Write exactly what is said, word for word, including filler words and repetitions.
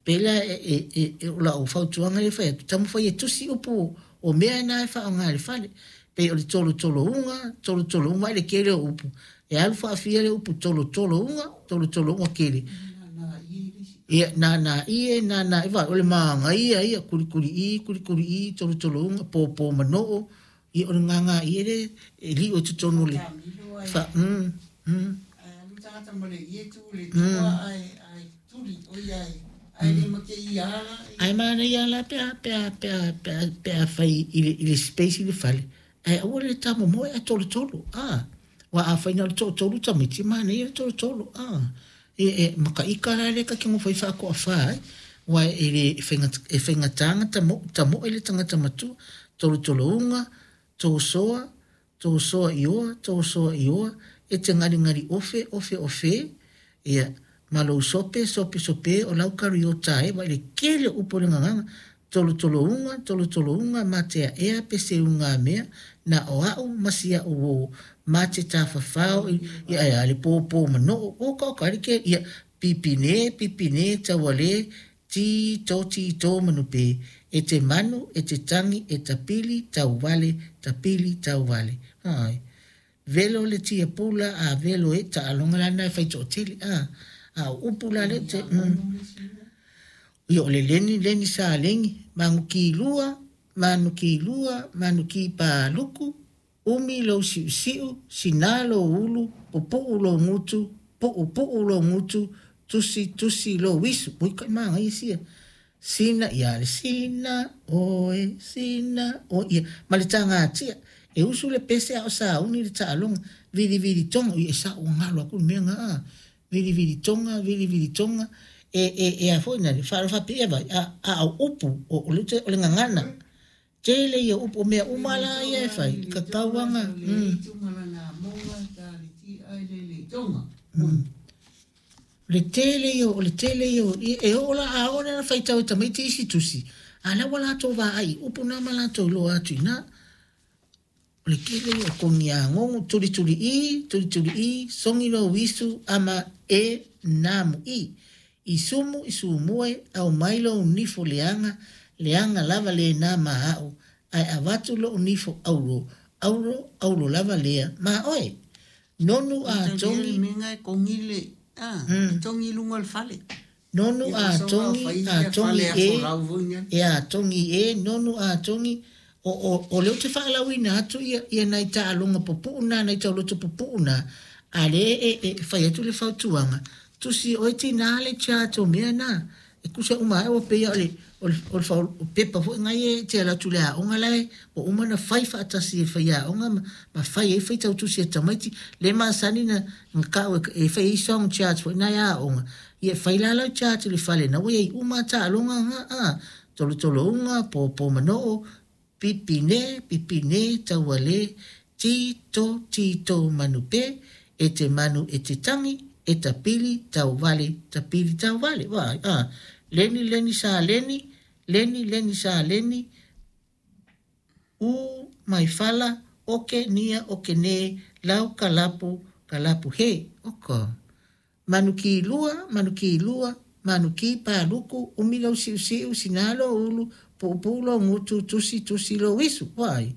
Pei la e e e e o lau fautuaga lea e fai atu, taumafai e tusi upu o mea na e faaaoga i le fale. Pei o le tolotolo-uga, tolotolo-uga vaai le tele o upu. E alu faafia le upu tolotolo-uga, tolotolo-uga tele. Ia, nānā ie, nānā i, vaai, o le manaia ia, kulikuli-i, kulikuli-i, tolotolo-uga, pōpō manoo, ia o le gagā ie le e liu i totonu o le fa, mm, mm. Mm. Ae manaia la pe a pe a pe a pe a pe a fai i le i le space i le fale ae aua le tamomoe ae tolotolo a aua afai na o le toatolu tamaiti e manaia le tolotolo a e e makaika la lea ta te nofo ai faatoafa ai aua e le e faigata e faigata na tamo tamoe le tagata matua tolotolo-uga tosoa tosoa ioa tosoa ioa e te galigaliofe ofe ofe ia ma lou sope sope sope o lau kariota e vaai le tele o upu o le gagaga tolotolo-uga tolotolo-uga mateaea peseugamea na o a'u ma si a'u uo ma te tafafao ia ae a le pōpō manoo oka oka ai le ke ia pipine pipine tauale ti to ti to manupe e te manu e te tagi e tapili tauvale tapili tauvale ai velo le tiapula a velo e taaloga lana e fai toatele a a o upu la le te mm. Ia o le leni leni sa leni manukilua manukilua manukipaluku umi lou siusiu sina lou ulu pupu'u lou gutu pu'upu'u lou gutu tusi tusi lou isu ui kai magaia sia sina ia le sina oe sina oe ia ma le tagatia e usu le pese a o sauni le taaloga vilivili toga ia e sa'u galo aku le mea ga a vilivili toga vilivili toga e e e a foi na le faalofa faapea vai a a o upu o o le o le gagana tele ia upu o mea uma la ia e fai tatauaga mm. Mm. Le tele ia o le tele ia e oo la a oo na faitau e tamaiti isi tusi a la ua latou vaai upu na ma latou iloa atu i ina o le tele ia o kogiagogo tulituli'i tulituli'i sogi lou isu ama e namu'i i sumu i sumue aumai lou nifo leaga leaga lava lena ma a'u ae avatu lo'u nifo auro auro auro lava lea ma oe nonu a togi mm. Nonu a togi a togi e e a togi e nonu a togi o o o le ou te faalauina atu ia ia nai taaloga pupu'u na nai tauloto pupu'u na a le e e fai atu le fautuaga tusi oe tinā le chart o mea na e kusa uma ai ua pei o le o le o le o pepa foi ngai e te ala atu le aoga lae ua uma na fai faatasi e faiaoga ma, ma fai ai faitau tusi e tamaiti le masani na na ka'u e fai ai song chart foi nai aoga ia fai la lau chart i le fale na ua iai uma taaloga ga a tolotolo-uga pōpō manoo pipine pipine tauale ti to ti to manupe e te manu e te tangi e tapili tauvale tapili tauvale vaai a leni leni sa leni leni leni sa leni u mai fala oke nia oke ne lau kalapu kalapu he oka manukilua manukilua manukipaluku umi lou siusiu sina lou ulu pu'upu'u lou gutu tusi tusi lou isu vaai.